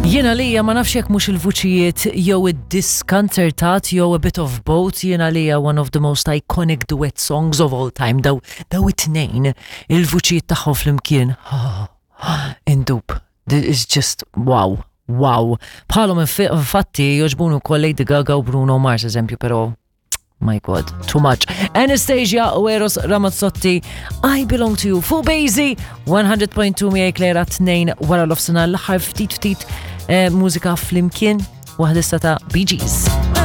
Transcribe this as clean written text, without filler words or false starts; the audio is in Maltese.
Jiena lija ma nafx jekk mhux il-vuċijiet jew id-diskanzertat jew a bit of both, jiena lija one of the most iconic duet songs of all time, daw daw it-tnejn il-vuċijiet tagħhom flimkien. Indub. This is just wow. Wow. Bħalhom infatti joġbunu wkoll Lady Gaga u Bruno Mars eżempju, però My God, too much. Anastasia u Eros Ramazzotti, I Belong to You, fuq Bazy, 100.2 miegħi Klera 2 wara l-ofsena l-aħħar ftit ftit eh, mużika flimkien waħda ta' Bee Gees.